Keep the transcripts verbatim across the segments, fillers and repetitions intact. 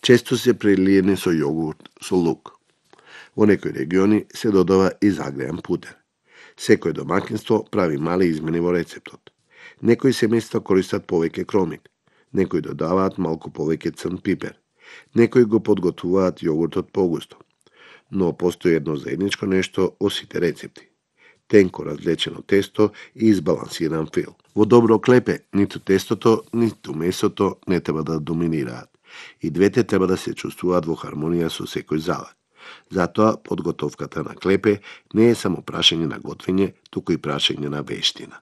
често се прелиени со јогурт со лук. Во некои региони се додава и загреан путер. Секој домаќинство прави мали измени во рецептот. Некои семејства користат повеќе кромит, некои додаваат малку повеќе црн пипер, некои го подготвуваат јогуртот погусто. Но постои едно заедничко нешто во сите рецепти. Тенко разлечено тесто и избалансиран фил. Во добро клепе, ниту тестото, ниту месото не треба да доминираат. И двете треба да се чувствуваат во хармонија со секој залет. Затоа подготовката на клепе не е само прашање на готвење, туку и прашање на вештина.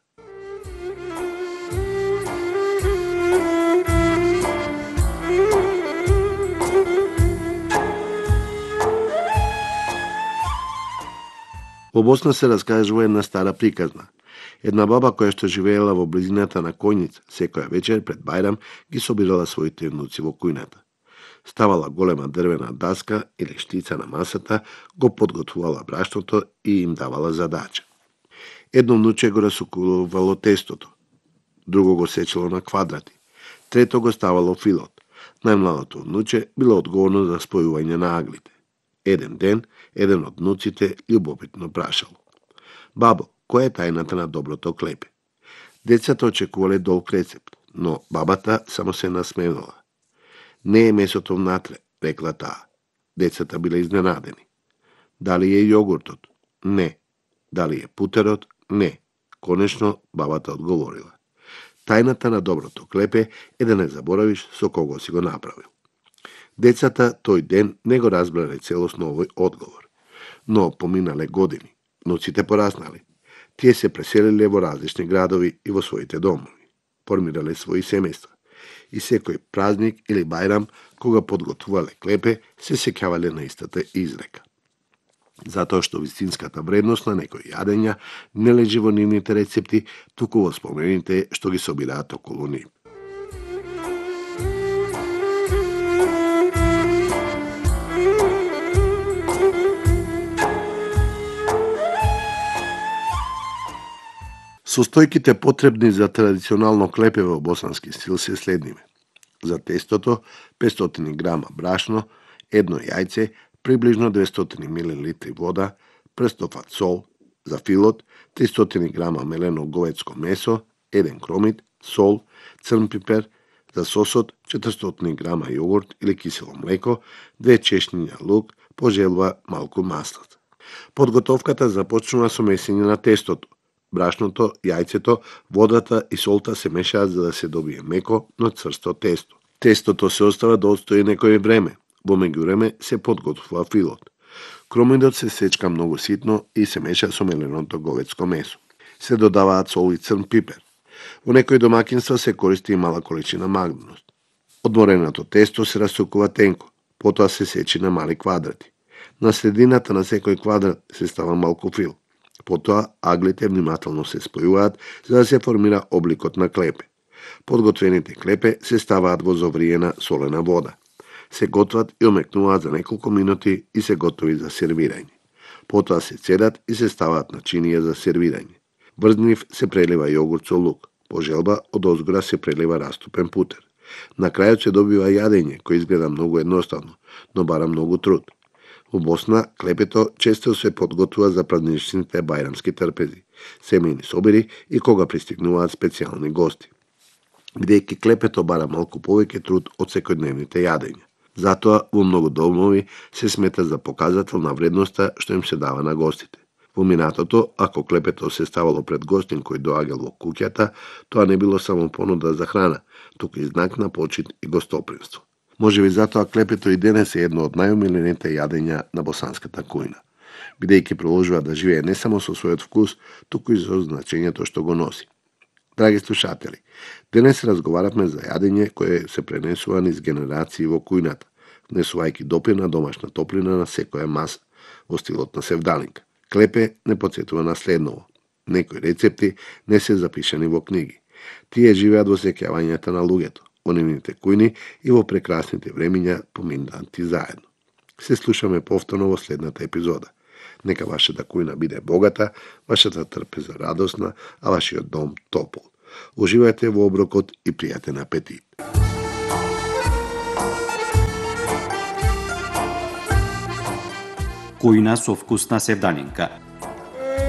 Во Босна се раскажува една стара приказна. Една баба која што живеела во близината на Којница, секоја вечер пред Бајрам ги собирала своите внуци во кујната. Ставала голема дрвена даска или штица на масата, го подготвувала брашното и им давала задача. Едно внуче го расукувало тестото, друго го сечело на квадрати, трето го ставало филот. Најмладото внуче било одговорно за спојување на аглите. Еден ден, еден од внуците љубопитно прашало: "Бабо, која е тајната на доброто клепе?" Децата очекувале долг рецепт, но бабата само се насмевнала. "Не е месото внатре," рекла таа. Децата биле изненадени. "Дали е јогуртот?" "Не." "Дали е путерот?" "Не." Конечно, бабата одговорила: "Тајната на доброто клепе е да не заборавиш со кого си го направил." Децата тој ден не го разбрале целосно овој одговор. Но поминале години, внуците пораснале. Тие се преселиле во различни градови и во своите домови. Формирале своји семејства. И секој празник или бајрам, кога подготвувале клепе, се сеќавале на истата изрека. Затоа што вистинската вредност на некои јадења не лежи во нивните рецепти, туку во спомените што ги собираат околу нив. Состојките потребни за традиционално клепе во босански стил се следниве. За тестото петстотини грама брашно, едно јајце, приближно двестотини милилитри вода, прстофат сол, за филот тристотини грама мелено говедско месо, еден кромит, сол, црн пипер, за сосот четиристотини грама јогурт или кисело млеко, две чешњиња лук, по желба малку маслат. Подготовката започнува со месење на тестото. Брашното, јајцето, водата и солта се мешаат за да се добие меко, но цврсто тесто. Тестото се остава да отстои некое време. Во меѓувреме се подготвува филот. Кромидот се сечка многу ситно и се меша со меленото говедско месо. Се додаваат сол и црн пипер. Во некои домаќинства се користи и мала количина магнус. Одмореното тесто се расукува тенко, потоа се сечи на мали квадрати. На средината на секој квадрат се става малку фил. Потоа аглите внимателно се спојуваат за да се формира обликот на клепе. Подготвените клепе се ставаат во зовриена солена вода. Се готват и омекнуваат за неколку минути и се готови за сервирање. Потоа се цедат и се ставаат на чинија за сервирање. Врз нив се прелива јогурт со лук. По желба од озгора се прелива растопен путер. На крајот се добива јадење кој изгледа многу едноставно, но бара многу труд. Во Босна клепето често се подготвува за празничните бајрамски трпези, семејни собири и кога пристигнуваат специјални гости. Бидејќи клепето бара малку повеќе труд од секојдневните јадења. Затоа во многу домови се смета за показател на вредноста што им се дава на гостите. Во минатото, ако клепето се ставало пред гостин кој доаѓал во куќата, тоа не било само понуда за храна, туку и знак на почит и гостопримство. Можеби затоа клепето и денес е едно од најомилените јадења на босанската кујна, бидејќи продолжува да живее не само со својот вкус, туку и со значењето што го носи. Драги слушатели, денес разговаравме за јадење кое се пренесува низ генерации во кујната, внесувајќи допир на домашна топлина на секоја маса, во стилот на севдалинка. Клепе не потсетува на следново. Некои рецепти не се запишани во книги. Тие живеат во сеќавањата на луѓето, во нивните кујни и во прекрасните времиња поминати заедно. Се слушаме повторно во следната епизода. Нека вашата кујна биде богата, вашата трпеза радосна, а вашиот дом топол. Уживајте во оброкот и пријатен апетит. бујна со вкусна севдалинка.